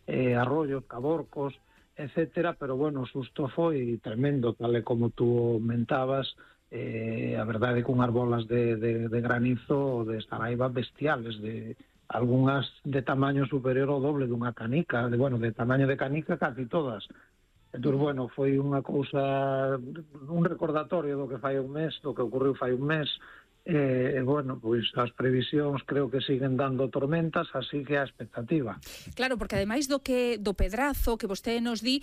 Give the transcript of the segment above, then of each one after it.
arroyos, caborcos, etcétera, pero bueno, o susto foi tremendo, tal e como tú mentabas. A verdade é que unhas bolas de granizo de Saraiva bestiales, de algunhas de tamaño superior ao doble dunha canica, de tamaño de canica casi todas. Entón, bueno, foi unha cousa, un recordatorio do que fai un mes, do que ocorreu fai un mes. Bueno, pois as previsións creo que siguen dando tormentas, así que a expectativa. Claro, porque ademais do pedrazo que vostede nos di,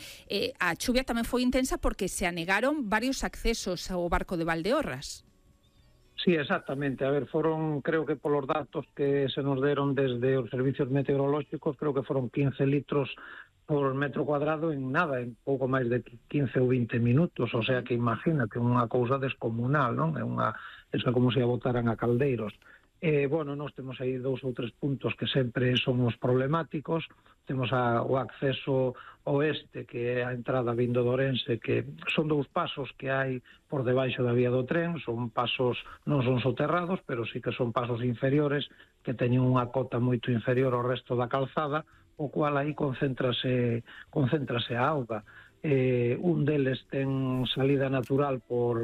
a chuvia tamén foi intensa porque se anegaron varios accesos ao barco de Valdeorras. Sí, exactamente. A ver, foron, creo que polos datos que se nos deron desde os servicios meteorolóxicos, creo que foron 15 litros por metro cuadrado en nada, en pouco máis de 15 ou 20 minutos, o sea que imagínate, unha cousa descomunal, non? É como se a botaran a caldeiros. Bueno, nós temos aí 2 ou 3 puntos que sempre son os problemáticos. Temos o acceso oeste, que é a entrada vindo de Ourense, que son 2 pasos que hai por debaixo da vía do tren, son pasos, non son soterrados, pero sí que son pasos inferiores, que teñen unha cota moito inferior ao resto da calzada, o cual aí concéntrase a auga. Un deles ten salida natural por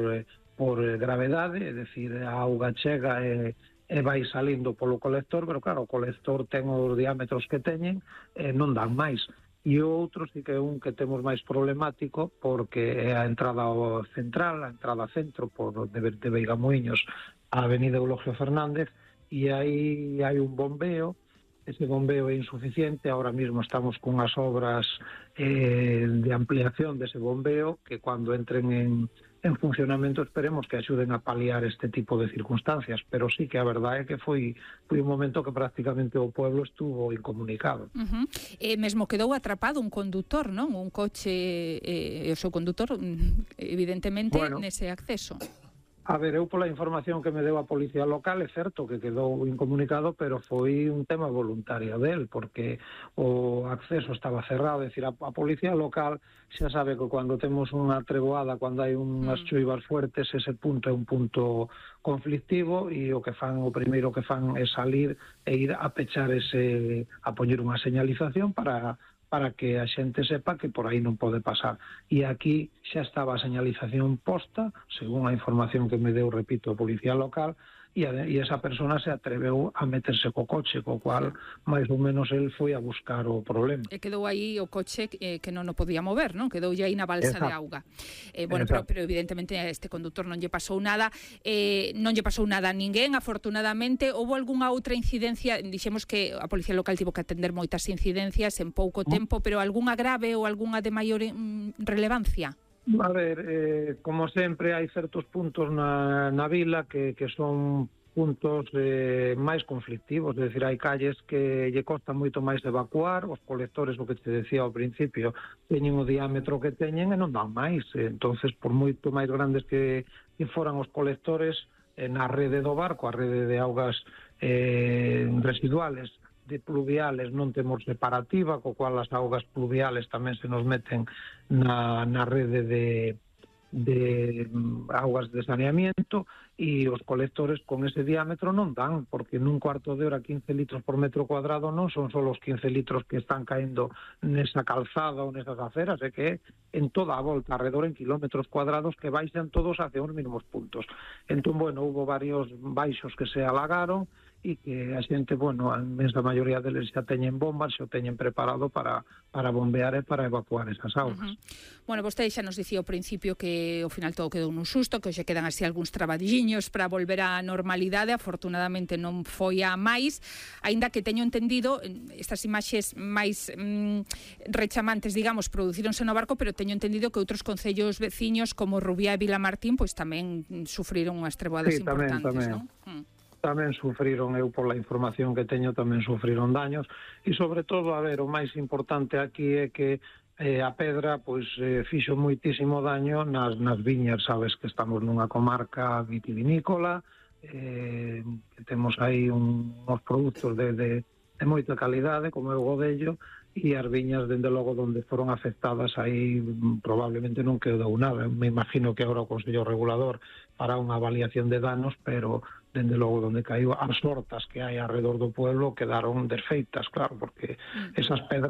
gravedade, é dicir, a auga chega e vai salindo polo colector, pero claro, o colector ten os diámetros que teñen, non dan máis. E o outro sí que é un que temos máis problemático, porque é a entrada ao central, a entrada centro de Veigamoinhos á avenida Eulogio Fernández, e aí hai un bombeo. Ese bombeo é insuficiente, ahora mismo estamos con as obras de ampliación dese bombeo, que cuando entren en funcionamento esperemos que axuden a paliar este tipo de circunstancias, pero sí que a verdade é que foi un momento que prácticamente o pueblo estuvo incomunicado. Mesmo quedou atrapado un condutor, non? Un coche, o seu condutor, evidentemente, nese acceso. A ver, eu pola información que me deu a policía local, é certo que quedou incomunicado, pero foi un tema voluntario del, porque o acceso estaba cerrado, é dicir, a policía local xa sabe que cando temos unha treboada, cando hai unhas choivas fuertes, ese punto é un punto conflictivo, e o primeiro que fan é salir e ir a pechar a poñer unha señalización para que a xente sepa que por aí non pode pasar. E aquí xa estaba a señalización posta, según a información que me deu, repito, a policía local, e esa persona se atreveu a meterse co coche, co cual máis ou menos el foi a buscar o problema. E quedou aí o coche que non o podía mover, non? Quedou aí na balsa de auga. Bueno, pero evidentemente a este conductor non lle pasou nada, a ninguén, afortunadamente. Houve algunha outra incidencia? Dixemos que a policía local tivo que atender moitas incidencias en pouco tempo, pero algunha grave ou algunha de maior relevancia? A ver, como sempre, hai certos puntos na vila que son puntos máis conflictivos, é dicir, hai calles que lle costa moito máis evacuar, os colectores, o que te decía ao principio, teñen o diámetro que teñen e non dan máis. Entonces, por moito máis grandes que foran os colectores na rede do barco, a rede de augas residuales, de pluviales non temos separativa, co cual as augas pluviales tamén se nos meten na rede de augas de saneamiento, e os colectores con ese diámetro non dan, porque nun cuarto de hora 15 litros por metro cuadrado non son só os 15 litros que están caendo nesa calzada ou nesas aceras, é que en toda a volta alrededor en kilómetros cuadrados que baixan todos hacia uns mesmos puntos. Entón, bueno, hubo varios baixos que se alagaron, e que a xente, a inmensa maioría deles xa teñen bombas, xa o teñen preparado para bombear e para evacuar esas augas. Bueno, vostede xa nos dicía ao principio que ao final todo quedou nun susto, que hoxe quedan así algúns trabadiños para volver á normalidade. Afortunadamente non foi a máis, aínda que teño entendido, estas imaxes máis rechamantes, digamos, producíronse no barco, pero teño entendido que outros concellos veciños como Rubiá e Vilamartín pois tamén sufriron unhas treboadas importantes, non? Tamén sufriron, eu pola información que teño, tamén sufriron daños, e sobre todo, a ver, o máis importante aquí é que a pedra fixo moitísimo daño nas viñas, sabes que estamos nunha comarca vitivinícola, que temos aí uns produtos de moita calidade, como é o godello, e as viñas, dende logo, onde foron afectadas, aí probablemente non quedou nada. Me imagino que agora o Consello Regulador fará unha avaliación de danos, pero dende logo donde caiu, as hortas que hai alrededor do pueblo quedaron desfeitas, claro, porque esas pedras